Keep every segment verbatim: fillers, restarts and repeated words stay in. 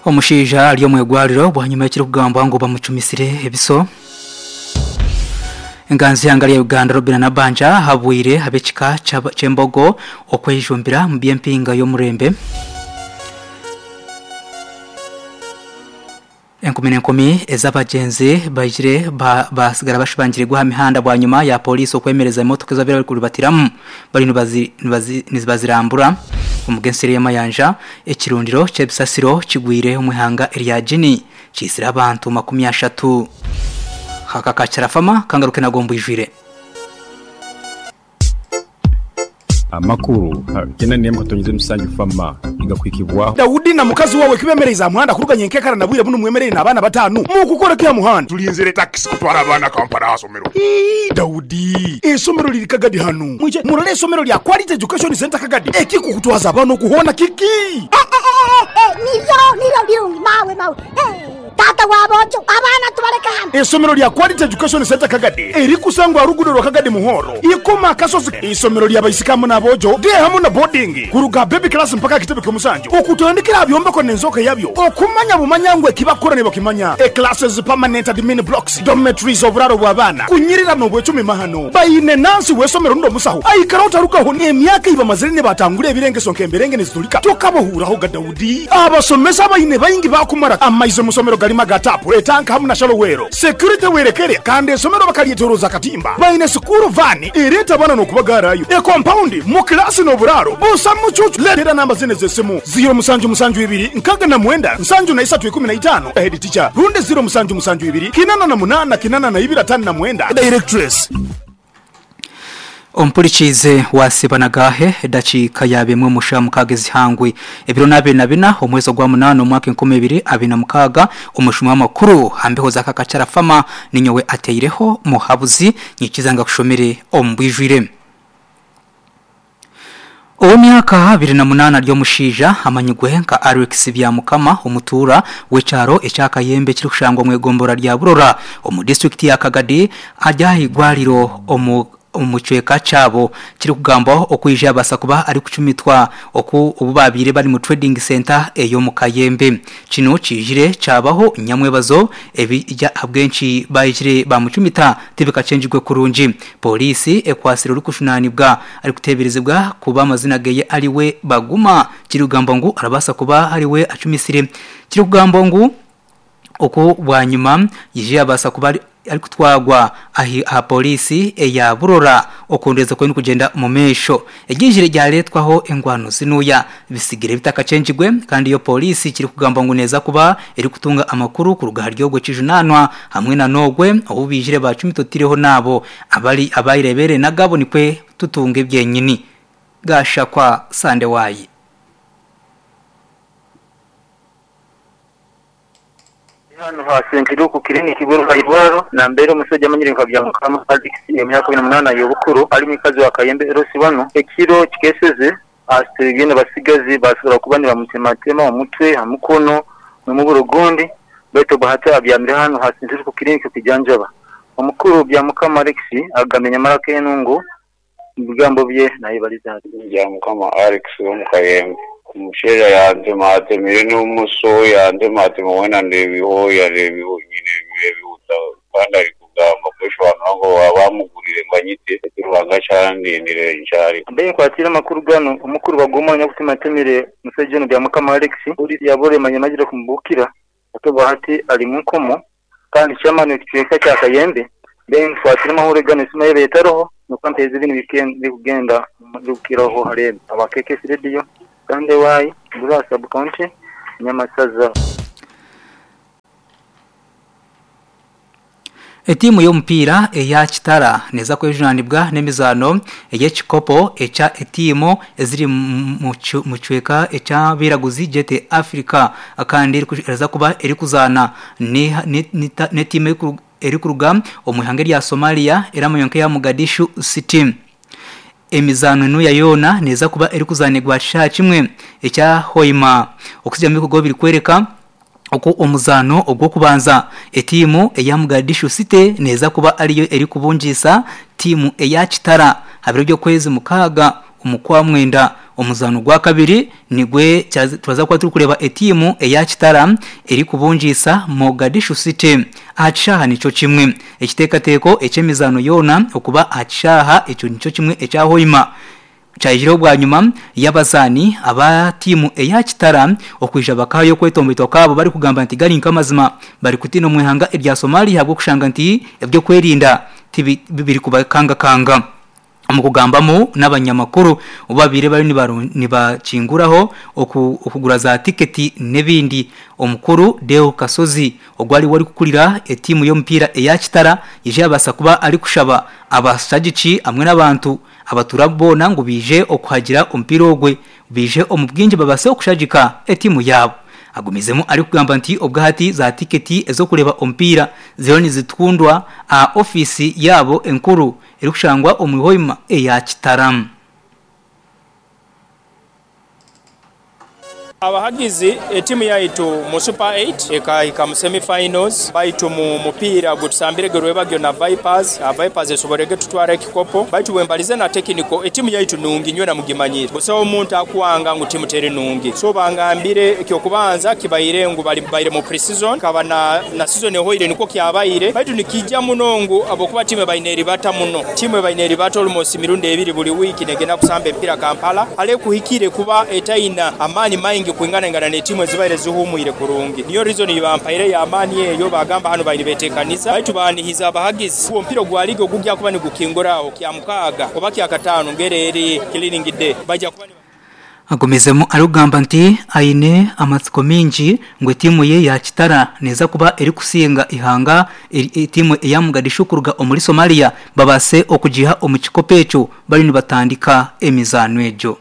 Omushaija ari omu igwariro bwanyuma y'ekirikugambwa ngu bamucumisire ebiso. Enganzi y'eihanga rya Uganda Robinah Nabbanja ahabwire ab'ekika ky'embogo okwejumbira omu by'empinga y'omurembe. Enkumi n'enkumi ez'abagyenzi baijire basigara bashubangirwe aha mihanda bwanyuma ya pooriisi okwemereza emotoka ezi babaire barikuribatiramu bariyo nibazirambura. Omu g'enseri y'amayanja, ekirundiro ky'ebisasiro kigwire omu ihanga erya Guinea kiitsire abantu makumi ashatu. Aka kakirafama kangaruke nago mbwijwire. Amakuru kenda n'emwe katonyize musanju fama igakwikibwaho. Daudi na mukazi wawe kibemereize aha muhanda kuruga nyenkekara na bwire bunu mwemereire n'abaana bataano. Mukukora ki aha muhanda? Tulinzire takisi kutwara abaana Kampala aha somero. Ii, Daudi, eisomero riri Kagadi hanu. Mwije murore eisomero rya Quality Education Center Kagadi. Ekikukutwaza abaana okuhoona kiki? Eh, eh, eh, eh, niryo niryo birungi mawe mawe. Eh, tata wa bojo abaana tubaleka hano. Eisomero rya Quality Education Center Kagadi erikusangwa rugudo rwa Kagadi Muhoro. Ikoma akasozi. Eisomero rya baisikamu n'abojo de hamu na boarding kuruga baby class mpaka kitebe ky'omusanju. Okutandikira byombeko n'enzoka yabyo. Okumanya bumanya ngwe kibakora ne bakimanya. E classes permanent admin blocks, dormitories oburaro bw'abaana. Kunyirira n'obwecumi mahano. Bayine Nancy w'esomero ndo musaho. Aikara otarukaho emyaka ibamazire ne batangura ebirengeso nk'emberenge nezitulika. Tokabohuraho ga Daudi. Abasomesa bayine bayingi bakumara amaize musomero galima gatapu etanka hamu na shalowero. Security werekere kandi esomero bakalyetoroza katimba. Bayine sukuru vani ereta bana n'okubagarayo. E compound mu klasi n'oburaro. Busa mucucu letera namba zine z'esimu ziro musanju musanju ibiri nkaga na mwenda nsanju na isatu ikumi na itano head teacher runde ziro musanju musanju ibiri kinana na munana kinana na ibiri atano na mwenda directress. Ompurikize wasibanagahe edakika yabemwe musha mukagezi hangwe ebiro nabe na bina omwezi gwa munano omwaka enkumi ibiri abiri na mukaga omushuma w'amakuru hambeho zakakacara fama ninyowe ateireho muhabuzi nyikizanga kushomere ombwijwire. Ow'emyaka abiri na munana ry'omushaija amanyigwe nka Alex Byamukama omutuura w'ekyaro ekyakayembe kirikushangwa mu igombora rya Burora omu district ya Kagadi ajya igwariro omu omucweka kyabo kirikugamba okwija abasa kuba ari kucumitwa oku obubabire bari mu trading center eyo mu Kayembe. Kino kijire cyabaho nyamwebazo ebijya abwenshi bayijire bamucumita tibikacengirwe kurungi. Polisi ekwasira uri kushunanibwa ari kuteberezebwa kuba amazina geye ariwe Baguma kirikugamba ngu arabasa kuba ariwe acumisire. Kirikugamba ngu oku bwanyuma yije abasa kuba ari kutwagwa ahi aha polisi eya Burora okundeza kwenu kugenda mu mesho egijire ryaletwaho engwano zinuya bisigire bitakacengirwe kandi iyo polisi kiri kugamba ngo neza kuba eri kutunga amakuru kuruga haryogo kijunanwa hamwe na nogwe aho bijire ba cumi tutireho nabo abari abayirebere nagabo nikwe tutunge byenyini gashakwa sande wayi. Hano hasenjiro ku kiriniki Burora Ibwaro na mbere umusajja amanyire nka Byamukama Alex emyaka kumi na munana y'obukuru ali mukazi wa Kayembe Erosi wano ekiro kikeseze astegene basigazi basobola kuba ni bamutematema omutwe hamukono n'omuburugundi beto bahata abyamire hano hasenjiro ku kiriniki kujanjaba omukuru Byamukama Alex agamenya maraka enungu ibigambo bye naye baliza Byamukama Alex wo mu Kayembe umusheja yanzematemire n'umuso yanzematema wena ndebiho yarebiho nyine bihuta kandi ari kugamba kwesha abantu ngo bamugurire ngo anyite rubanga cyarandindire ncyari mbe nkwatira amakuru gano omukuru bagoma nyakutematemire musajja no Byamukama Alex uri yaboremanye magira kumubukira atoba hati ari munkomo kandi chairman w'ekicweka cya Kayembe mbe nkwatira amahoro gano sima yebetaroho nuko mpeze ibintu bikugenda mukiraho harebe abakeke radio Kande wai Burora sub county Nyamasaza. Etimu y'omupiira eya Kitara neza kwejunanibwa n'emizano ey'ekikopo ekya etimu eziri mu cweka ekya biraguzi Jet Africa kandi ereza kuba erikuzaana n'etimu erikuruga omu ihanga rya Somalia eramayonke ya Mogadishu City. Emizano nuya yona neza kuba erikuzanirwa kisha kimwe ekya Hoima okusija mikugo biri kwereka uko omuzano ogwo kubanza etimu eya Mogadishu City neza kuba ariyo eri kubunjisa timu eya Kitara habiro byo kwezi mukaga umukwa mwenda Omuzano gwa kabiri nigwe twaza kuba turi kureba etimu eya Kitara eri kubunjisa Mogadishu City aha kishaha nico kimwe. Ekiteekateeko eky'emizaano yoona okuba aha kishaha ekyo nico kimwe ekya Hoima chaijire bwanyuma y'abazaani aba timu eya Kitara okwija bakayo kwetomboitwa kwabo bari kugamba nti gari nkamazima bari kutina omwihanga erya Somalia habwo kushanga nti ebyo kwerinda biri kubakanga kanga. Omukugambamo n'abanyamakuru babire bari nibakinguraho okugura za tiketi n'ebindi, omukuru Deo Kasozi ogwali wari kukurira etimu y'omupiira eya Kitara yije abasa kuba ari kushaba abasagici amwe n'abantu abatura bona ngo bije okuhagira omupiira ogwe bije omubwingi babase okushagika etimu yabo. Agumizemu ari kugamba nti obwahati za tiketi ezokureba omupiira zero nizitundwa a ofisi yabo enkuru erikushangwa omu Hoima eya Kitara. Abahagizi etimu yaitu mu Super eight ekahika mu semifinals baitu mu mupiira gutusambire gerwebagyo na Vipers. Vipers esoborege tutwara ekikopo baitu bwembalize na technical etimu yaitu nungi nywe na mugimanyire busa omuntu akuwanga ngu timu teri nungi so bangambire ekyokubanza kibaire ngu bali baire mu pre-season kaba na, na season ehoire niko kyabaire baitu nikijja munongu abokuba timu baineri bata muno timu baineri bata almost mirundi ebiri buli wiki negenda kusamba empira Kampala ale kuhikire kuba etaina amani maingi kuingana ingana ne timu ezibaire zihumwire kurungi. Niyo reason ibampaire ya amani eyo bagamba hano baini betekanisa baitu banihiza abahagizi uwo mpira gwa liga ogujja kuba nigukinguraho kya mukaaga oba kya katano ngere eri cleaning day bajja kuba. Agumizemu arugamba nti aine amatsiko mingi ngo timu ye ya Kitara neza kuba eri kusinga ihanga timu eya Mogadishu kuruga omuri Somalia babase okujiha omukikopo ekyo bali nibatandika emizano ejo.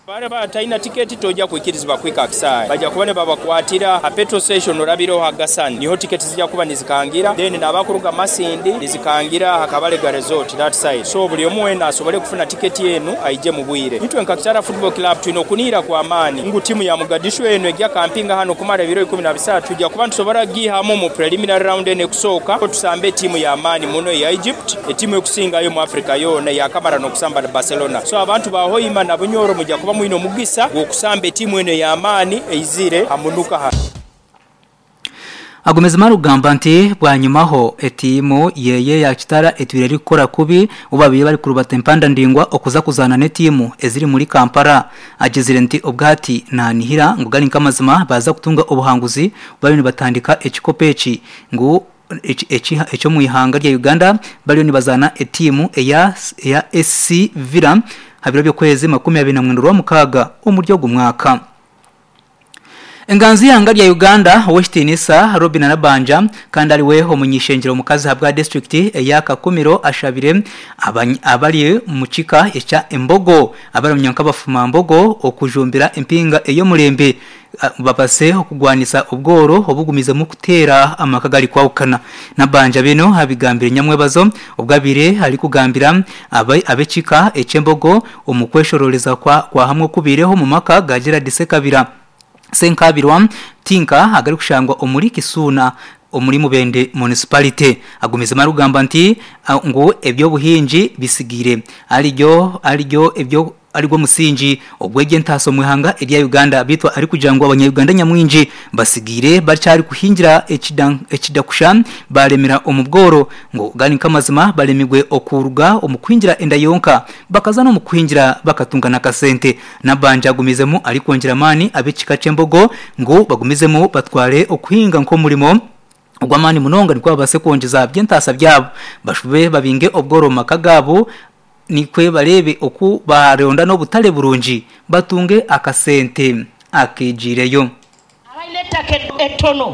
Bare bataina tiketi toja kuikirizibwa kwika kisai baja kubane babakwatira a petrol station orabiro hagasani niho tiketi zijja kuba nizikangira then nabakuruga Masindi nizikangira Hakabalega resort that side so buli omu wena asobole kufuna tiketi yenu aije mu bwire. Nitwe nka Kitara Football Club twino kunira kwa amani ngu timu ya Mogadishu eno ejja kampinga hano kumara ebiro ikumi na bisatu tujja kuba ntusobora gihamu mu preliminary round ene kusoka tusambe timu ya amani muno ya Egypt etimu ekusingayo mu Africa yona yakamara no kusamba na Barcelona so abantu ba Hoima na Bunyoro mujja kuba mwino mugisa gwokusamba etimu eno ya amani eizire amunuka ha. Agomeza marugamba nti bwanyumaho etimu yeye ya Kitara etwire rikora kubi ubabiye bari kurubata empanda ndingwa okuza kuzana netimu eziri muri Kampala. Agizire nti obwati nanihira ngo gari nkamazima baza kutunga obuhanguzi bari batandika ekikopo eki ngo ekyo mu ihanga rya Uganda bari nibazana etimu eya eya S C Villa habiro byo kwezi makumi abiri na mwenda rwa mukaga omuryo gumwaka. Enganzi yanga lya Uganda Westinisa Robin Nabanja kandi ari weho munyishengero mukazi habwa district eya Kakumiro ashabire abali muchika echa embogo abali munyanka bafuma mbogo okujumbira empinga eyo mulembe babase okugwanisa ubworo obugumize mu kutera amakagali kwawukana. Nabanja bino habigambire nyamwebazo ubwabire ari kugambira abechika echembogo omukweshororeza kwa kwa hamwe kubireho mu maka gagira disekabira Senkabirwa tinka agari kushangwa omuri Kisuna omuri Mubende municipality. Agumize marugamba nti ngo ebyo buhinji bisigire ariryo ariryo ebyo arigwo musingi ogwege ntaso mwihanga erya Uganda bitwa ari kujangwa abanya-Uganda nyamwinji basigire bacari kuhingira ekidakusha baremera omubworo ngo gani kamazima baremigwe okuruga omukwinjira enda yonka bakazana omukwinjira bakatunga nakasente. Nabanja agumizemu ari kongera mani abekika cembogo ngo bagumizemu batware okuhinga nko mulimo ogwamani munonga niko babase kongeza byentasa byabo bashube babinge obworo makagabo nikwe barebe oku baronda no butale burungi batunge akasente akijireyo. Abaine ettaka ettono.